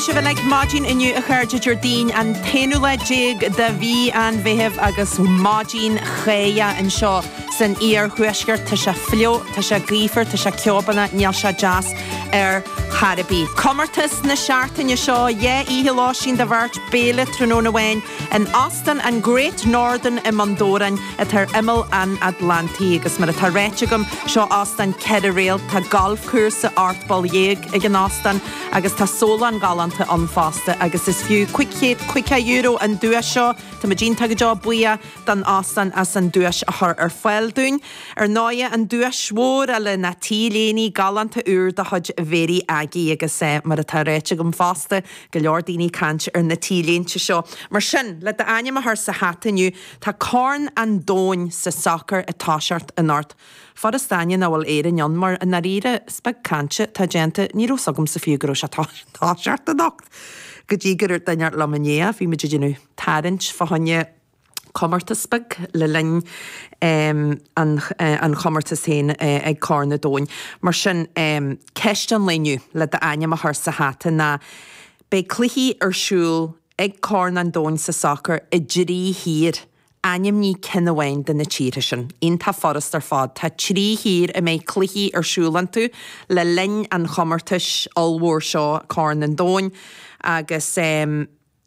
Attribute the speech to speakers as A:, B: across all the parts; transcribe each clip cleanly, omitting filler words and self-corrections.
A: Dia sibh uilig maidin inniu a chairde Déardaoin an t-aonú lá déag de mhí an Mheithimh agus maidin cháidheach anseo san iarthuaisceart. Tá sé fliuch, tá sé gaofar, tá sé ceobánach, níl sé deas ar chor ar bith. Comórtas na seachtaine seo, 2 oíche lóistín do bheirt, béile tráthnóna amháin in Óstán an Great Northern i mBun Dobhráin atá ar imeall an Atlantaigh agus mar atá ráite agam, seo óstán 4 réalt, tá galfchúrsa 18 bpoll ag an óstán agus tá sólann galánta ann fosta agus is fiú €550 an duais seo. Tá muid iontach go deo buíoch don óstán as an duais a chur ar fáil dúinn. Ar ndóighe, an duais mhór eile ná T-léine galánta úr de chuid Mhéirí Aggie agus mar atá ráite agam fosta, go leor daoine ag caint ar na T-léinte seo. Mar sin, le d'ainm a chur sa hata inniu, tá Corn an Domhain sa sacar ag toiseacht anocht. Furast d'aithne nach bhfuil Éirinn ann mar, i ndáiríre, is beag cainte atá déanta. Ní raibh 's agamsa fiú go raibh sé toiseacht anocht go dtí gur dhúirt duine liom inné. Bhí muid ag déanamh tarraingt fá choinne comórtas beag le linn an chomórtais féin ag Corn an Domhain. Mar sin, ceist an lae inniu le d'ainm a chur sa hata ná, beidh cluichí ar siúl ag Corn an Domhain sa sacar i dtrí thír. Ainmnigh ceann amháin de na tíortha sin. Iontach furast ar fad. Tá 3 thír a mbeidh cluichí ar siúl iontu le linn an chomórtais ollmhór seo, Corn an Domhain, agus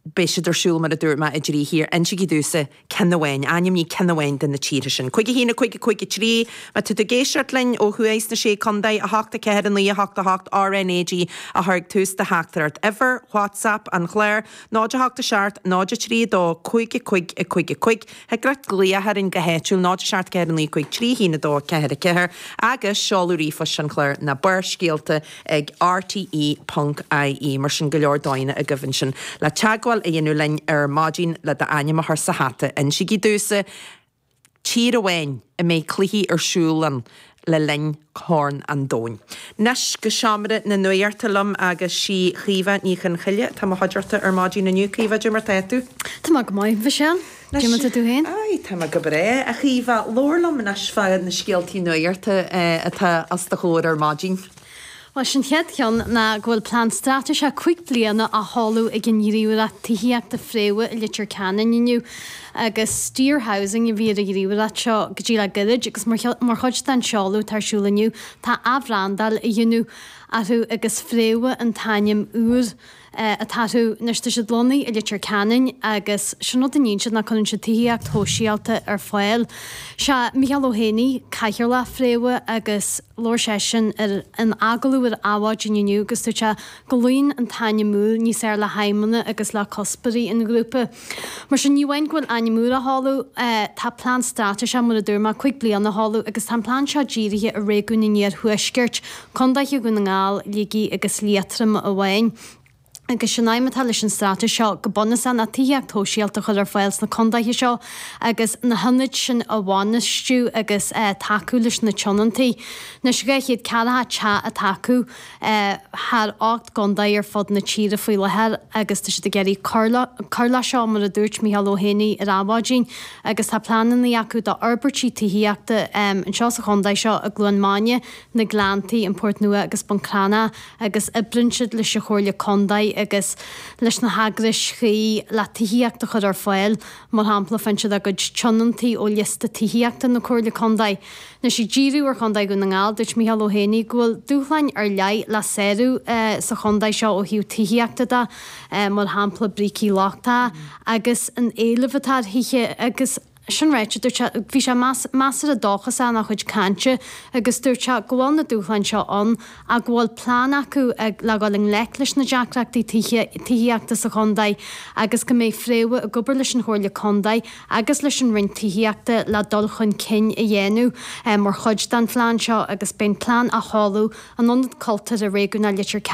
A: beidh siad ar siúl, mar a dúirt mé, i dtrí thír. Insígí domhsa ceann amháin, ainmnigh ceann amháin de na tíortha sin. 5 1 5 5 3, Má tá tú ag éisteacht linn ó thuaidh sna Sé Contae, 8 4 9 8 8 RNAG a chur ag tús do theachtaireacht. Uimhir WhatsApp an chláir, 0 8 7 0 3 2 5 5 5 5 Thig leat glaoch orainn go háitiúil, 0 7 4 9 5 3 1 2 4 4 agus seoladh ríomhphoist an chláir ná Barrscéalta ag rte.ie. Mar sin go leor dóigheanna agaibh ansin le teagmháil a dhéanamh linn ar maidin le d'ainm a chur sa hata. Insígí domhsa tír amháin a mbeidh cluichí ar siúl ann le linn Chorn an Domhain. Anois go seomra na nuachta liom agus sí Caoimhe Ní Chonchoille atá i mo chuideachta ar maidin inniu. Caoimhe, cad é mar tá tú?
B: Tá mé go maith, Michelle. Cad é mar tá tú féin?
A: Aye, tá mé go breá, a Chaoimhe. Labhair liom anois fá na scéaltaí nuachta atá os do chomhair ar maidin.
B: Bhuel, sin chéad cheann ná go bhfuil plean straitéiseach 5 bliana á sheoladh ag an ghníomhaireacht tithíochta Fréamha i Leitir Ceanainn inniu agus Steer Housing a bhí ar an ghníomhaireacht seo go dtí le gairid agus mar chuid den seoladh atá ar siúl inniu tá athbhrandáil á dhéanamh orthu agus Fréamha an t-ainm úr atá orthu. Anois tá siad lonnaithe i Leitir Ceanainn agus sin rud a níonn siad ná cuireann siad tithíocht shóisialta ar fáil. Sé Micheál Ó hÉanaí Cathaoirleach Fréamha agus labhair seisean ar in agallamh ar Adhmhaidin inniu agus dúirt sé go luíonn an t-ainm úr níos fearr le haidhmeanna agus le cuspóirí an ghrúpa. Mar sin, ní amháin go bhfuil ainm úr á sheoladh, tá plean straitéiseach, mar a dúirt mé, 5 bliana á sheoladh agus tá an plean seo dírithe ar réigiún an Iarthuaiscirt, Condaetha Dhún na nGall, Shligigh agus Liatroma amháin. Agus sin aidhm atá leis an straitéis seo go bunúsach ná tithíocht shóisialta a chur ar fáil sna condaetha seo agus na hionaid sin a bhainistiú agus tacú leis na tionóntaí. Anois 240 teach atá acu thar 8 gcondae ar fud na tíre faoi láthair agus tá siad ag iarraidh cur cur leis seo mar a dúirt Micheál Ó hÉanaí ar Adhmhaidin agus tá pleananna acu d'fhorbairtí tithíochta anseo sa chondae seo i gCluain Maine, na Gleanntaí, an Port Nua agus Bun Cranncha agus oibríonn siad leis an Chomhairle Contae agus leis na heagrais chuí le tithíocht a chur ar fáil, mar shampla faigheann siad a gcuid tionóntaí ó liosta tithíochta na Comhairle Contae. Anois ag díriú ar Chontae Dhún na nGall, dúirt Micheál Ó hÉanaí go bhfuil dúshláin ar leith le sárú sa chontae seo ó thaobh tithíochta de, mar shampla brící lochtacha agus an éileamh atá ar thithe agus Sin ráite, dúirt sé, bhí sé measartha dóchasach ina chuid cainte agus dúirt sé go bhfuil na dúshláin seo ann ach go bhfuil plean acu le dhul i ngleic leis na deacrachtaí tithíochta sa chontae agus go mbeidh Fréamha ag obair leis an Chomhairle Contae agus leis an Roinn Tithíochta le dul chun cinn a dhéanamh mar chuid den phlean seo agus beidh an plean á sheoladh in Ionad Cultúrtha Réigiúnach Leitir Ceanainn.